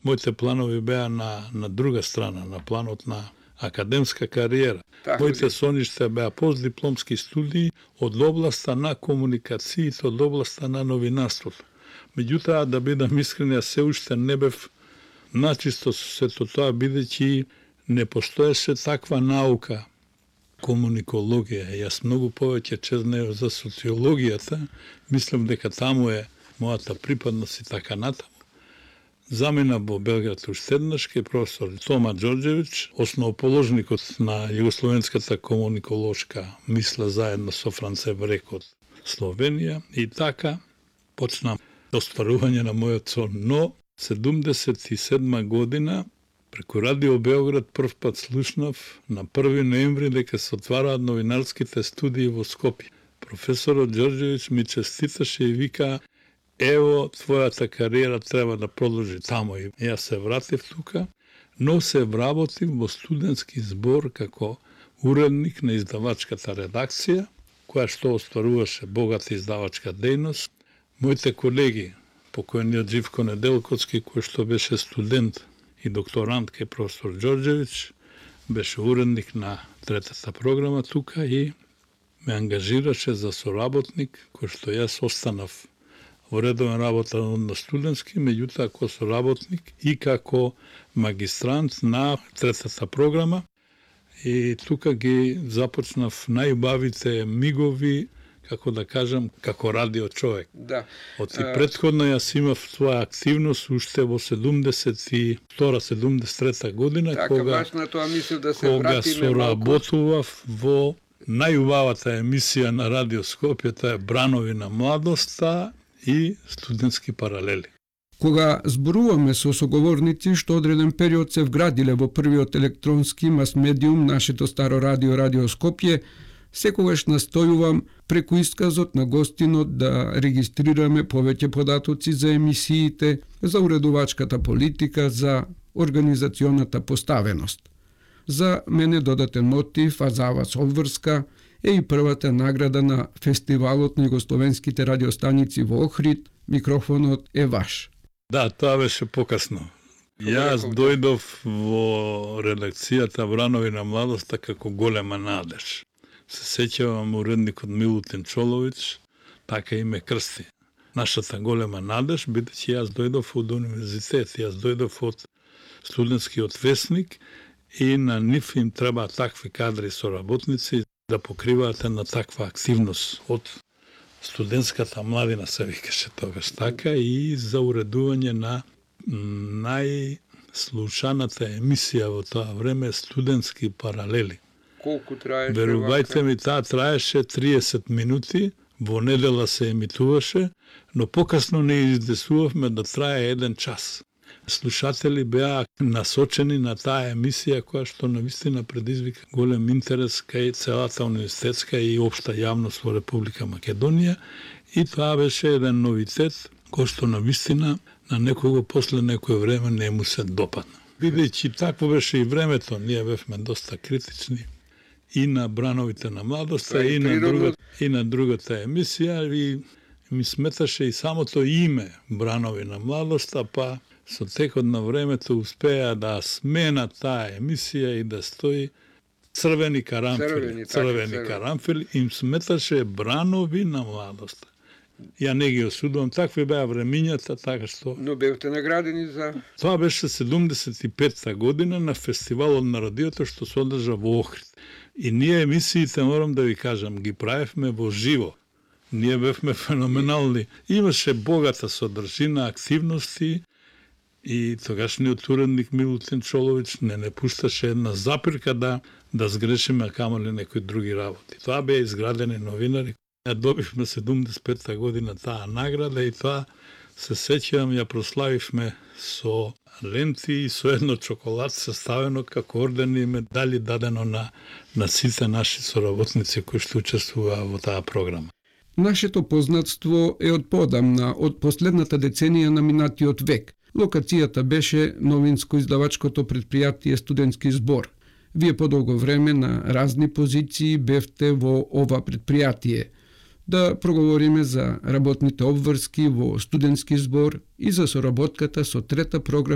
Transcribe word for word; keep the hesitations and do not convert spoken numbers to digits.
моите планови беа на, на друга страна, на планот на академска кариера. Така, моите соништа беа постдипломски студии од областа на комуникациите, од областа на новинарството. Меѓутоа, да бидам искрен, јас се уште не бев начисто со сето тоа, бидејќи не постоеше таква наука, комуникологија. Јас многу повеќе чезнео за социологијата, мислам дека таму е мојата припадност и така натаму. Замина во Белград уште еднаш кај професор Тома Ѓорѓевиќ, основоположникот на југословенската комуниколошка мисла заедно со Франце Брек од Словенија, и така почнам остварување на мојот сон. Но седумдесет и седма година преку Радио Београд прв пат слушнав на први ноември дека се отвараат новинарските студии во Скопје. Професорот Ѓорѓевиќ ми честиташе и вика: ево, твојата кариера треба да продолжи таму. И јас се вратив тука, но се вработив во студентски збор како уредник на издавачката редакција, која што остваруваше богата издавачка дејност. Моите колеги, покојниот Живко Неделкоцки, кој што беше студент и докторант кај професор Ѓорѓевиќ, беше уредник на третата програма тука и ме ангажираше за соработник, кој што јас останав во редовен работа на студентски, меѓутоа како соработник и како магистрант на третата програма. И тука ги започнав најубавите мигови, како да кажам, како радио човек. Да. Од и предходно јас имав своја активност уште во седумдесет и втора седумдесет и трета година, така, кога, на тоа мислив да се кога вратиме соработував во најубавата емисија на Радио Скопје, тоа е Бранови на младоста и студентски паралели. Кога зборуваме со соговорници што одреден период се вградиле во првиот електронски мас-медиум, нашето старо радио, Радио Скопје, секогаш настојувам преку исказот на гостинот да регистрираме повеќе податоци за емисиите, за уредувачката политика, за организационата поставеност. За мене додатен мотив, а за вас обврска, е и првата награда на фестивалот на југословенските радиостаници во Охрид. Микрофонот е ваш. Да, тоа беше покасно. Јас дојдов во редакцијата Бранови на младоста како голема надеж. Се сеќавам уредникот Милутин Чоловиќ, така и ме крсти. Нашата голема надеж, бидејќи јас дојдов од универзитет, јас дојдов од студентскиот весник и на нив им треба такви кадри соработници да покриваат на таква активност од студентската младина, се викаше тогаш така, и за уредување на најслушаната емисија во тоа време, студентски паралели. Колку траеше? Верувајте ми, таа траеше триесет минути, во недела се емитуваше, но покасно не издесувавме да трае еден час. Слушатели беа насочени на таа емисија која што навистина предизвика голем интерес кај целата универзитетска и општа јавност во Република Македонија, и тоа беше еден новитет кој што навистина на некого после некој време не му се допадна. Бидејќи такво беше и времето, ние бевме доста критични и на Брановите на младоста, и на, другата, и на другата емисија, и ми сметаше и самото име Бранови на младоста, па со текот на времето успеа да смена таа емисија и да стои црвени карамфили. Црвени, црвени така, карамфили, им сметаше Бранови на младоста. Ја не ги осудувам, такви беа времињата, така што... Но бевте наградени за... Тоа беше седумдесет и петта година на фестивалот на радиото што се одржа во Охрид. И ние емисиите, морам да ви кажам, ги правевме во живо. Ние бевме феноменални. Имаше богата содржина, активности, и тогашниот уредник Милутин Чоловиќ не не пушташе една запирка да да сгрешиме, камо ли некои други работи. Тоа беа изградени новинари. Ја добивме седумдесет и петта година таа награда и тоа се сеќавам, ја прославивме со ленти и со едно чоколадце составено како ордени и медали дадено на, на сите наши соработници кои што учествуваа во таа програма. Нашето познатство е од подамна, од последната деценија на минатиот век. Локацијата беше новинско-издавачкото предпријатие Студентски збор. Вие подолго време на разни позиции бевте во ова предпријатие. Да проговориме за работните обврски во Студентски збор и за соработката со трета програма